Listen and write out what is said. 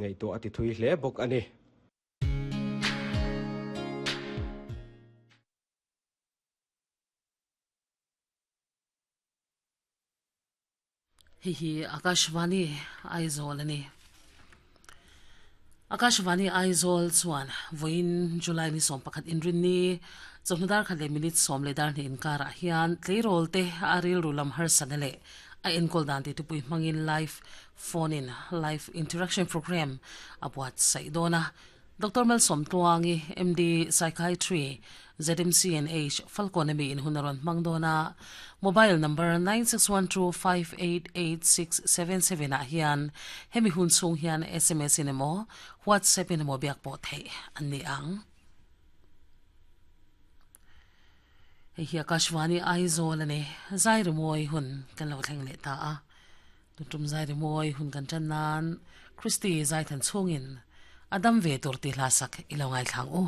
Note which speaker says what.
Speaker 1: ngaihtuah a ti thui hle bawk a ni.
Speaker 2: Hei hi Akashvani Aizawl a ni. Akashvani Aizawl chuan vawiin July ni 11 inrinni chawhnu dar khat leh minute 12 inkarah hian tleirawl te a rilru lam harsatna leh a enkawl dan tih tupui hmangin live phone in live interaction program a buatsaih dawn a. Doctor Malsawmtluangi, MD, Psychiatry, ZMCNH, Falkawn ami in hun a rawn hmang dawn a, mobile number 9612588677 ah hian hemi hun chhung hian sms in emaw WhatsApp in emaw biak pawh theih an ni ang. Hei hi Akashvani Aizawl a ni. Zai rimawi hun kan lo thleng leh ta a. Tuntum zai rimawi hun kan tan nan Christy zai than chhungin a dam ve tur tih hla sak i lo ngaithlang u.